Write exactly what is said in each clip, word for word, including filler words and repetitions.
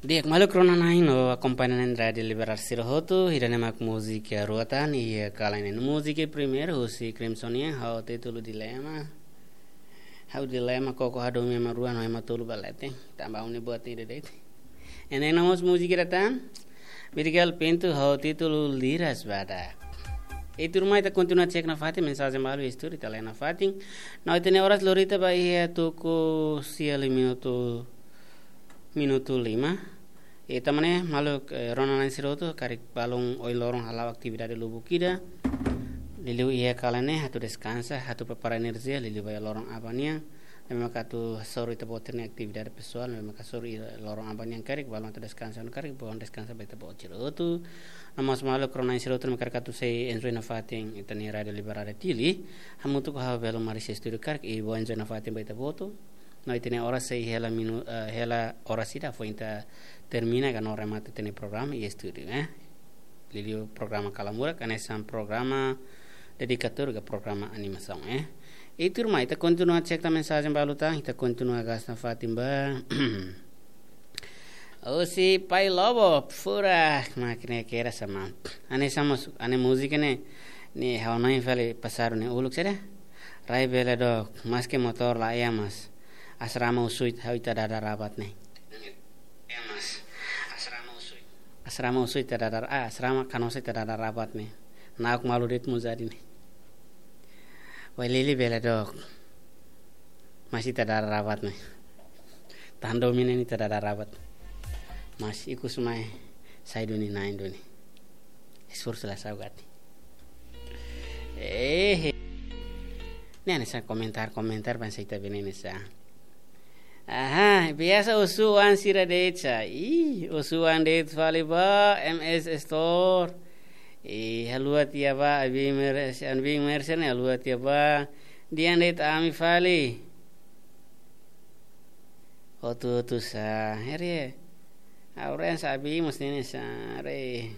Di'ak, maluk rona-na'in no akompaña na'in Rádiu Liberal sira hotu, ida-ne'e mak múzika rua tan iha kalan ne'e. Múzika primeiru husi Crimson nian, ho títulu Dilema. Ha'u dilema koko hadomi ema rua no ema tolu ba leten. Tanba ha'u-nia buat ida de'it. Ida-ne'e mós múzika ida tan, Miguel Pinto ho títulu Liras Badak. I tuirmai ita kontinua cek nafatin mensajen balu iha estúdiu, ita lee nafatin. No ita-nia oras lori tiha ba iha tuku sia liu minutu, minutu lima. Ita mane maluk, eh, rona-na'in sira hotu, karik balun ohin loron hala'o atividade lubuk ida. Liuliu iha kalan ne'e atu deskansa, atu prepara enerjia, liuliu ba iha loron aban nian. Ne'ebé maka atu hasoru ita-boot sira-nia atividade pesoál, ne'ebé maka hasoru iha loron aban nian karik, balun atu deskansa, no karik balun deskansa ba ita-boot sira hotu. No mós maluk rona-na'in sira hotu ne'ebé karik atu sei enjoy nafatin ita-nia Rádiu Liberal Dili. Hamutuk ho ha'u Belo Maris estúdiu karik, i bá enjoy nafatin ba ita-boot hotu. No ita-nia oras sei hela minu-, eh, hela oras ida foin ita termina ka no remata ita-nia programa iha estúdiu, eh. Liuliu programa Kalamurak, hanesan programa dedikatóriu ka programa animasaun, eh. I tuirmai, ita kontinua cek tan mensajen balu tan, ita kontinua gasta fatin ba. Husi Pai Lobo, furak, mákina kera sama. Hanesan mós, hanesan múzika ne'e, ne'e ha'u hanoin fali pasadu ne'e uluk saida. Rai bele dook, maske motór laiha mas. Asrama Usuit, ha'u ita dada rabat ne'e. Asrama Usuit, ita dada, ah, Asrama Kanosa ita dada rabat ne'e. Na'ok malu de'it mós jadi ne'e. Wai lili bele dook. Mas ita dada rabat ne'e. Tan domin ne'e ita dada rabat. Mas ikus mai sai duni na'in duni. Esforsu la saugati. Eh. Ne'e hanesan komentar-komentar bangsa ita bene hanesan. Aha, biasa osu-oan sira de'it sa. Ih, osu-oan de'it fali ba, M S Store. Ih, haluha tiha ba, Abi Mer-, Abi Mercer ne'e haluha tiha ba. Dehan de'it ami fali. Hotu-hotu sa, heri. Auren sa Abi mesti ni sa, re.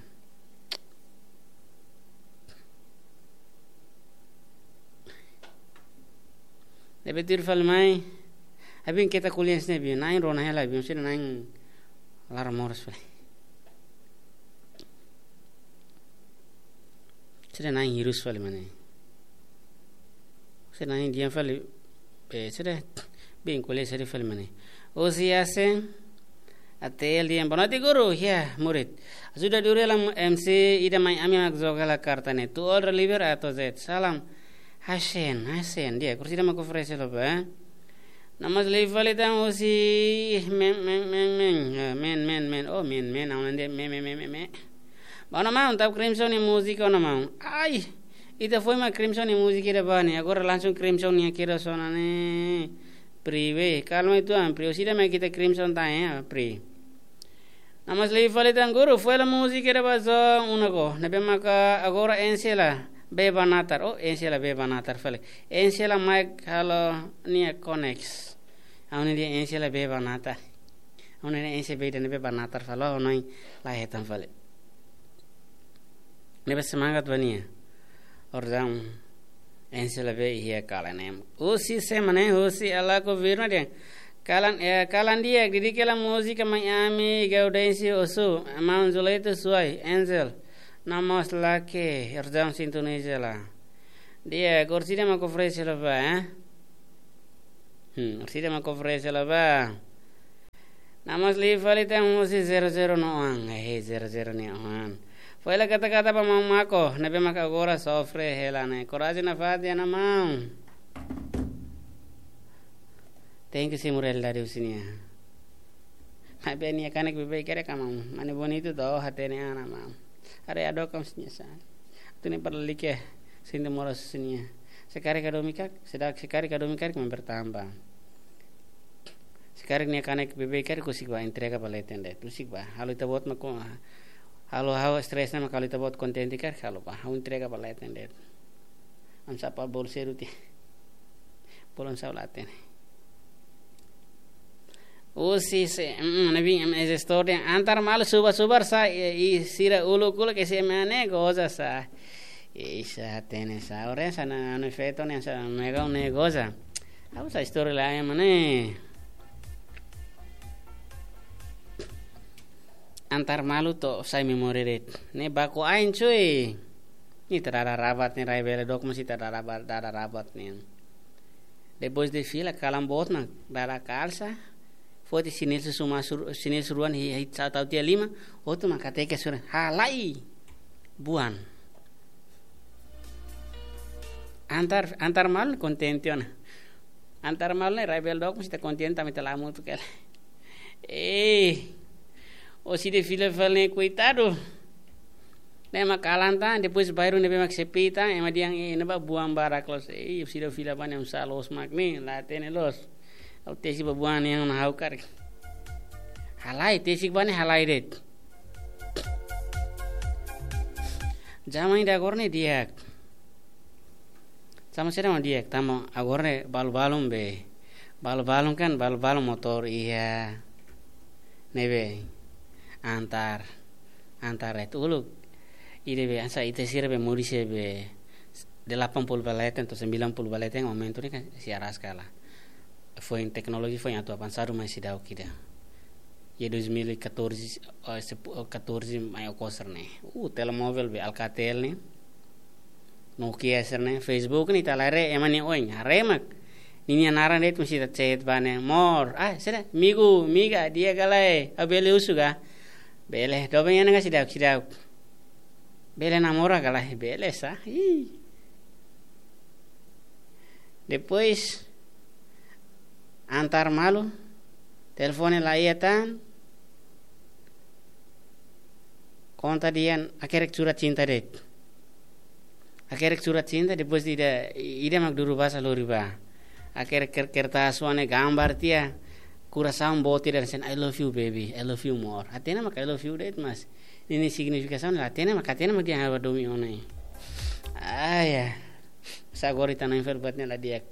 Ne'ebé tuir fali mai. Abi keta kuliah sini Abi, na'in rona hela Abi, mesti na'in laran moras fali. Sira na'in hirus fali mane. Sira na'in di'ak fali, eh, sira bin kuliah sira fali mane. Husi Asen, Atel di'ak, boa noite guru, ya, murid. Ajuda dulu lah M C ida mai ami mak joga la karta ne'e. Tu all deliver A to Z. Salam. Hasen, Hasen, di'ak, kursi ida mak oferese lo ba. No mós liu fali tan husi men, men, men, men, eh, men, men, men, oh, men, men, aun ande, men, men, men, men, men. Ba ona maun, tau Crimson nia múzika ona maun. Ai, ita foin mak Crimson nia múzika ida ba ne'e, agora langsung Crimson nia kira sona ne'e. Pri we, kalma itu am, pri, husi ida mak ita Crimson tan, eh, pri. No mós liu fali tan guru, foin la múzika ida ba zon una ko. Ne'ebé maka agora Ensela bee ba natar. Oh, Ensela bee ba natar fali. Ensela mai halo nia konex. Aun nia Ensela bee ba natar. Aun nia Ensela bee dan bee ba natar fali. Oh, noi la hetan fali. Ne'ebé semangat ba nia. Ordaun Ensela bee iha kalan ne'e. Husi sira mane, husi Alako Virna dehan. Kalan, eh, kalan di'ak, didik hela múzika mai ami, Gaudêncio Osu, maun Zuleito Suai, Angel. No mós lake, ordaun sintoniza la. Di'ak, kursi ida mak oferese lo ba, eh? Hmm, kursi ida mak oferese lo ba. No mós liu fali tan husi zero zero nia oan. Eh, zero zero nia oan. Foin la kata-kata ba maun Mako, ne'ebé maka agora sofre hela ne'e. Korajen nafatin ona maun. Tenke simu realidade husi nia. Maibé nia kanek beibeik karik ka maun. Mane bonitu to hatene ona maun. Haree hadook ka husi nia sa. Atu nia para like, sente moras husi nia. Se karik hadomi karik, se dak, se karik hadomi karik, maun bertambah. Se karik nia kanek beibeik karik, husik ba entrega ba leten de'it. Husik ba. Halo ita-boot mak, halo ha'u stress ne'e mak halo ita-boot kontente karik, halo ba. Ha'u entrega ba leten de'it. Am sapa bolu seru ti. Bolu sa'e la hatene. Husi se, mm, ne'ebé M S Store dehan antar malu subar-subar sa, i, i sira uluk-uluk ke se mane goza sa. I sa hatene sa, ore sa na, no feto ne sa, mega ne goza. Ha'u sa story la ya mane. Antar malu to'o sai memória de'it. Ne'e baku ain cuy. Ita dada rabat ne'e, rai bele dook mós ita dada ba-, dada rabat ne'e. Depois de fila kalan boot mak dada kalsa. Foti xinelu suma sur-, xinelu suruan hi, hi sa tau tiha liman. Hotu mak hateke sura. Halai. Buan. Antar, antar malu kontente ona. Antar malu ne'e rai bele dook mós ita kontente tanba ita la'o hamutuk hela. Eh, orsida fila fali ne'e koitadu. Ne'e mak kalan tan, depois bairru ne'ebé mak sepi tan, ema dehan, eh, ne'ebá buan barak loos. Eh, orsida fila ba ne'e oinsá loos mak ne'e, la hatene loos. Ha'u tesik ba buan ne'e ona ha'u karik. Halai, tesik ba ne'e halai de'it. Zaman ida agora ne'e di'ak. Sama saida mak di'ak, tanba agora ne'e balu-balun be. Balu-balun kan, balu-balun motór iha. Ne'ebé antar, antar de'it uluk. Ida be, hanesan ita sira be moris iha be delapan puluh ba leten to'o sembilan puluh ba leten momentu ne'e kan sira rasik hela. Foin teknolojia foin atu avansadu mai seidauk ida. Iha dois mil e catorze, eh, sepu-, eh, catorze mai okos sira-ne'e. Uh, telemóvel be Alcatel ne'e. Nokia sira-ne'e, Facebook ne'e ita la haree, ema nia oin, haree mak. Ninia naran de'it mós ita chat ba ne'e, amor, ah, saida, amigu, amiga, di'ak ka lae, ha'u bele husu ka? Bele, doben iha ne'e ka seidauk, seidauk. Bele namora ka lae, bele sá. Ih. Depois, antar malu, telefone la iha tan, konta dehan hakerek surat cinta de'it. Hakerek surat cinta, depois ida, ida mak duru basa lori ba. Hakerek ker-, kertas wan ne'e gambar tiha, kurasaun boot ida dehan, "I love you, baby, I love you more." Hatene mak I love you de'it, mas ninia signifikasaun la hatene mak, hatene mak dehan ha'u hadomi ona. Ah, ya. Sa agora ita-nia enfer buat ne'e la di'ak.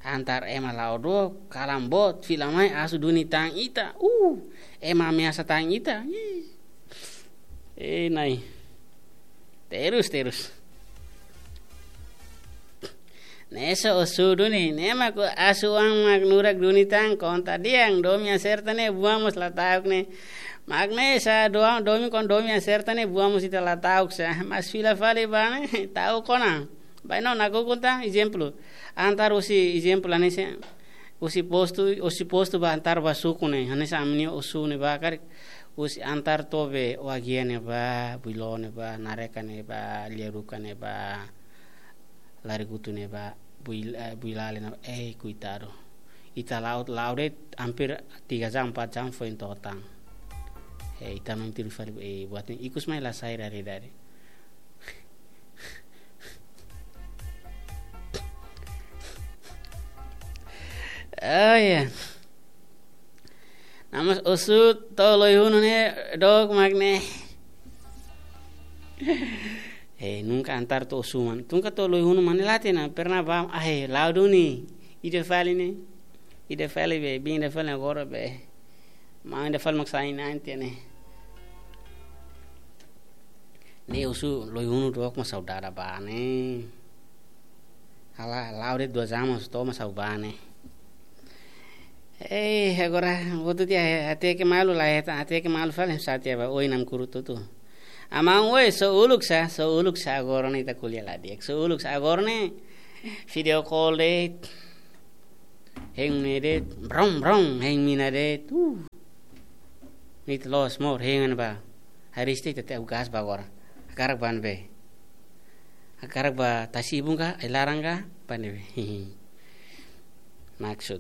Antar ema la'o dook, kalan boot, fila mai, asu duni tan ita. Uh, ema ameasa tan ita. Ih. Eh, Na'i. Terus, terus. Ne'e só osu duni, ne'e mak asu an mak nurak duni tan konta dehan, domin aserta ne'e buan mós la ta'uk ne'e. Mak ne'e sá doa-, domin kon domin aserta ne'e buan mós ita la ta'uk sá. Mas fila fali ba ne'e, ta'uk ona. Bainhira nakukun tan, ezemplu. Antar husi ezemplu hanesan, husi postu, husi postu ba antar ba suku ne'e. Hanesan ami-nia osu ne'ebá karik. Husi antar to'o be Oa-Guia ne'ebá, Builo ne'ebá, Nareka ne'ebá, Liaruka ne'ebá, Larigutu ne'ebá, Bui-, eh, Builale ne'ebá. Eh, koitadu. Ita la'o, la'o de'it hampir tiga jam, empat jam foin to'o tan. Eh, ita-nia tiru fali, eh, buat ne'e ikus mai la sai dari, dari. Oh, ya. Namas osu to'o Loihunu ne'e dook mak ne'e. Eh, nunka antar to'o osu mak ne'e. Nunka to'o Loihunu mak ne'e la hatene, pernah ba, ah, eh, la'o duni. Ida fali ne'e. Ida fali be, biin ida fali agora be. Maun ida fali mak sai nanti ne'e. Ne'e osu Loihunu dook mak saudade ba ne'e. Ha'u la'o de'it dua jam mós to'o mak saudade ba ne'e. Eh, agora, hotu tiha, hateke malu la hetan, hateke malu fali, sá tiha ba, oin namkuru tutu. Amá, oe, só uluk sá, só uluk sá, agora ne'e ita ko'alia la di'ak, só uluk sá, agora ne'e, video call de'it, hein ne'e de'it, brum, brum, hein mina de'it, uh. Ne'e ita loos mós, hein an ba. Haree ita, ita tau gás ba agora. Hakarak ba ne'ebé. Hakarak ba tasi-ibun ka, ai-laran ka, ba ne'ebé. Maksud.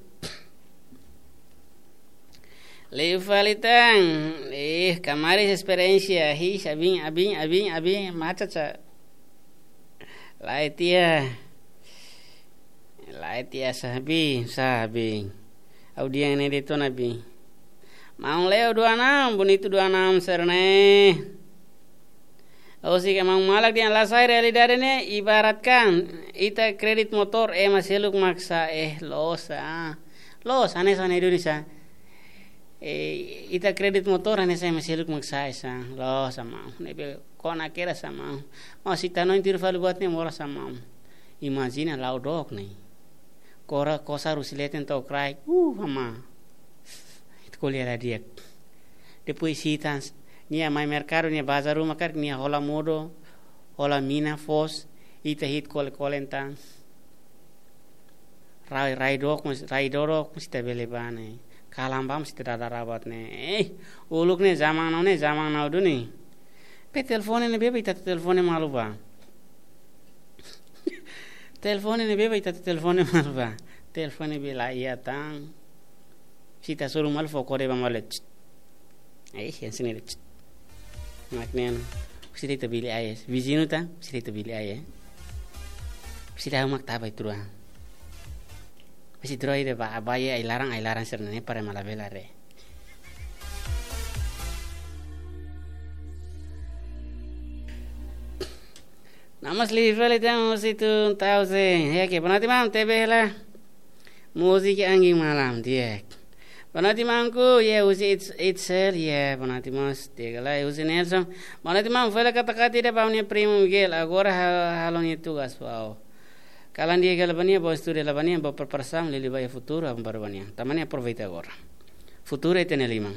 Liu fali tan, eh, kamaris esperiénsia, hi, sabin, abin, abin, abin, maca sa. Lae tiha. Lae tiha sá, bi, sá, bi. Ha'u dehan ne'e de'it ona, bi. Maun Leo dua enam, bonitu dua enam sira-ne'e. Husik maun malak dehan la sai realidade ne'e, ibaratkan ita kredit motór ema seluk mak sa'e, eh, loos, ah. Loos, hanesan ne'e duni sá. Eh, ita kredit motór hanesan ema seluk mak sa'e sá. Loos, maun. Ne'ebé kona kedas, maun. Maun, se ita hanoin tiru fali buat ne'e moras, maun. Imajina la'o dook ne'e. Kora kosar husi leten to'o kraik. Uh, amá. Ita ko'alia la di'ak. Depois hitan, Nia mai merkadu, nia bazar ruma karik, nia hola modo, hola mina foos, ita hi'it kole-kole entaun. Rai, rai dook, mas, rai dook, mas ita bele bá ne'e. Kalan bá, mas ita dada rabat ne'e. Eh, uluk ne'e zaman now ne'e, zaman now duni. Be telefone ne'ebé ba ita telefone malu bá. Telefone ne'ebé ba ita telefone malu bá. Telefone be la iha tan. Se ita hasoru malu fó kode ba malu. Tst. Eh, yang sini deh. Tst. Mak ne'e. Husi de'it bili ai. Viziñu tan, husi de'it bili ai. Husi dah mak taba itrua. Husi troi de ba, ba ai-laran, ai-laran sira-ne'e para mala bela re. Namas live fali tan husi tun tau se. Ya ke, boa noite, maun, tebe hela. Múzika Angin Malam, di'ak. Boa noite, maunku, ya husi It's-, Itzel, ya, boa noite, mós, di'ak lai, husi Nelson. Boa noite, maun, fali kata-kata ida ba ha'u-nia primu Miguel, agora ha-, halo nia tugas, wow. Kalan di'ak hela ba nia, bá estuda hela ba nia, bá preparasaun, liuliu ba iha futuru, aban baru ba nia. Tanba ne'e aproveita agora. Futuru ita-nia liman.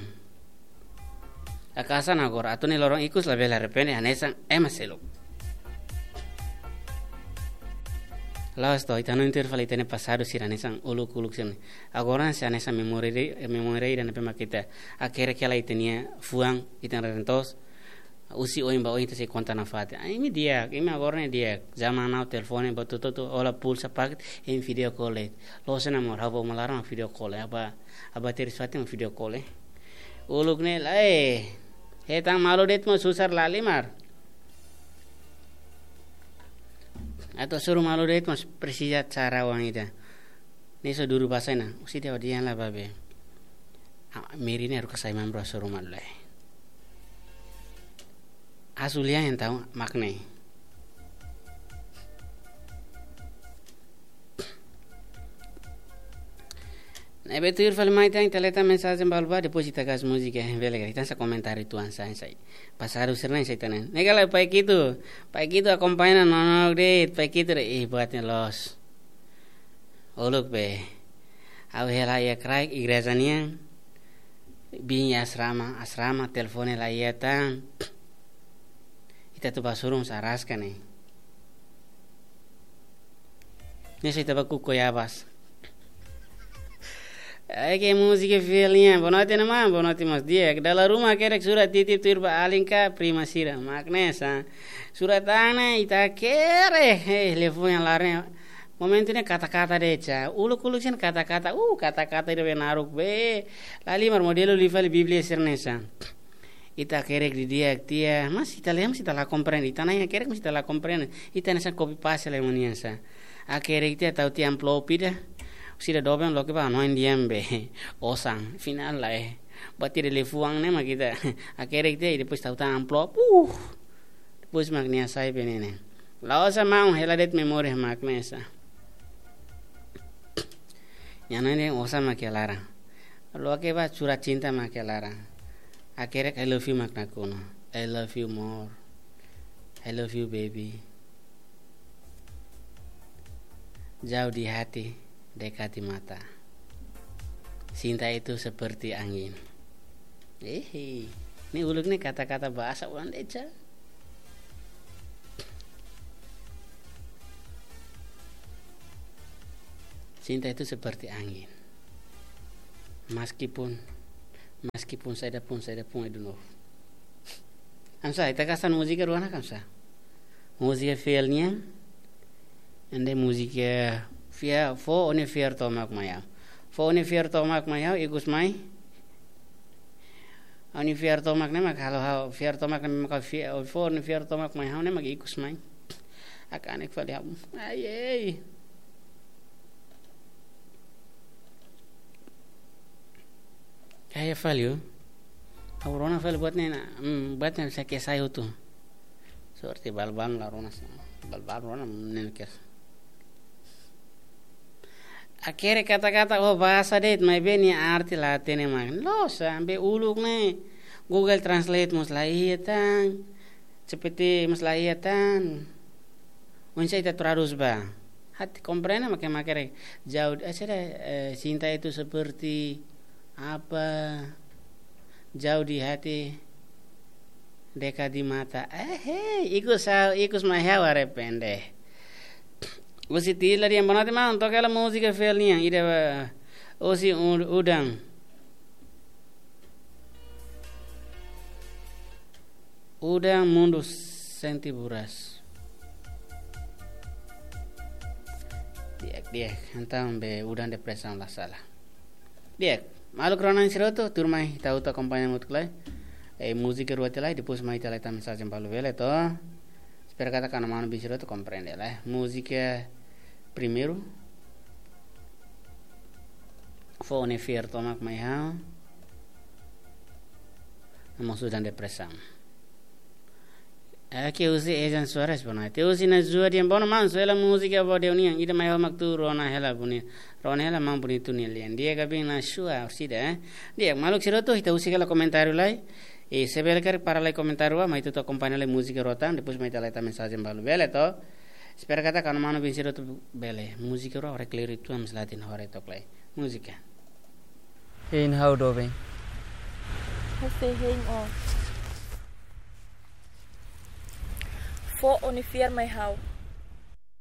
Akasan agora, atu nia loron ikus labele arrepende, hanesan ema seluk. La'ós to'o, ita hanoin tuir fali ita-nia pasadu sira hanesan uluk-uluk sira-ne'e. Agora sei hanesan memória de'it, memória ida ne'ebé mak ita hakerek hela ita-nia fuan, ita-nia reren-toos. Husi oin ba oin ita sei konta nafatin. Ah, imi di'ak, imi agora ne'e di'ak. Zaman now telefone ba tutu tu, hola pulsa paket, imi video call de'it. La'ós ona mós, ha'u ba uma laran mak video call, eh. Aba, aba teris fatin mak video call, eh. Uluk ne'e lae. Hetan malu de'it mós susar lahalimar. Atu hasoru malu de'it mós presiza cara oan ida. Ne'e só duru basa ona. Husi de'it odian la babe. Ah, meri ne'e haruka sai membru hasoru malu lae. Asulian entaun mak ne'e. Ne'ebé tuir fali mai tan, ita leta mensajen balu bá, depois ita gas múzika, eh, bele ka. Ita hanesan komentáriu tuan sai, sai. Pasadu sira-ne'e sai tan ne'e. Ne'e kala Pai Kitu, Pai Kitu akompaña no, no, de, Pai Kitu re, ih, buat ne'e loos. Uluk be. Ha'u hela iha kraik igreja nian. Bin iha asrama, asrama, telefone la iha tan. Ita atu bá hasoru mós araska ne'e. Ne'e só ita bá kuku yabas. Ai ke múzika fiel nian. Boa noite, maun. Boa noite, maun. Di'ak. Dala ruma hakerek sura titip tuir ba alin ka prima sira. Mak ne'e sa. Sura tan ne'e ita hakerek. Eh, telefone laran ne'e. Momentu ne'e kata-kata de'it sa. Uluk-uluk sira-ne'e kata-kata. Uh, kata-kata ida be naruk be. Lahalimar modelu liu fali Bíblia sira-ne'e sa. Ita hakerek didi'ak tiha, mas ita lee, mas ita la komprende. Ita na'in hakerek, mas ita la komprende. Ita hanesan copy paste lemo nian sa. Hakerek tiha tau tiha amplop ida. Sira doben loke ba hanoin di'ak be. Osan, finál lae. Buat ida liafuan ne'e mak ita hakerek tiha, depois tau tan amplop. Uh. Depois mak nia sai be ne'e ne'e. La'ós maun, hela de'it memória mak ne'e sa. Nia hanoin dehan osan mak iha laran. Loke ba surat cinta mak iha laran. Hakerek I love you mak nakonu. I love you more. I love you, baby. Jauh di hati, dekat di mata. Cinta itu seperti angin. Eh, ne'e uluk ne'e kata-kata bahasa orang de'it sa. Cinta itu seperti angin. Meskipun, meskipun saida pun, saida pun, I don't know. Hanesan, ita kasan múzika rua ona hanesan. Múzika fiel nian, ende múzika fiar, fó ó-nia fiar tomak mai ha'u. Fó ó-nia fiar tomak mai ha'u, ikus mai. Ó-nia fiar tomak ne'e mak halo ha'u, fiar tomak ne'e mak ha'u fiar, fó ó-nia fiar tomak mai ha'u ne'e mak ikus mai. Hakanek fali ha'u. Ai, ei. Kayak fali, oh. Ha'u rona fali buat ne'e ona, hmm, buat ne'e ona sake sai hotu. Sorte balbal la rona sa. Balbal rona ne'e kes. Hakerek kata-kata, oh, bahasa de'it, maibé nia arti la hatene mak. Loos, ambe uluk ne'e Google Translate mós la iha tan. C P T mós la iha tan. Oinsá ita tradús ba. Hati komprende mak hakerek. Jauh, eh, sira, eh, cinta itu seperti apa? Jauh di hati. Dekat di mata. Eh, hei, ikus ha'u, ikus mai ha'u arrepende. Husi Tila Diambono, maun, toka hela múzika fiel nian, ida ba, husi u-, udan. Udan mundu sente buras. Di'ak, di'ak. Entaun be udan depresaun la sala. Di'ak, maluk rona sira hotu, tuirmai ita hotu akompaña hamutuk lai. Eh, múzika rua tiha lai, depois mai ita lai tama mensajen balu bele to. Espera katak kanu manu-bin sira hotu komprende lai. Múzika primeiru. Fó ó-nia fiar tomak mai ha'u. Amo udan depresaun. Oke, husi Ejan Soares, boa noite. Husi Nazua Diambono, maun, soe hela múzika ba ó-nia nian, ida mai ha'u mak tuur, rona hela boni-, rona hela maun, bonitu nia lian. Di'ak, Gabin Nazua, orsida, eh. Di'ak, maluk sira hotu, ita husik hela komentáriu lai. I se bele karik para lai komentáriu ba, mai ita hotu akompaña lai múzika rua tan, depois mai ita lai tama mensajen balu bele to. Espera katak kanu manu-bin sira hotu bele. Múzika rua, ora kleur itu am selatin hore tok lai. Múzika. Hein ha'u doben. Husi hein ó. Fó ó-nia fiar mai ha'u.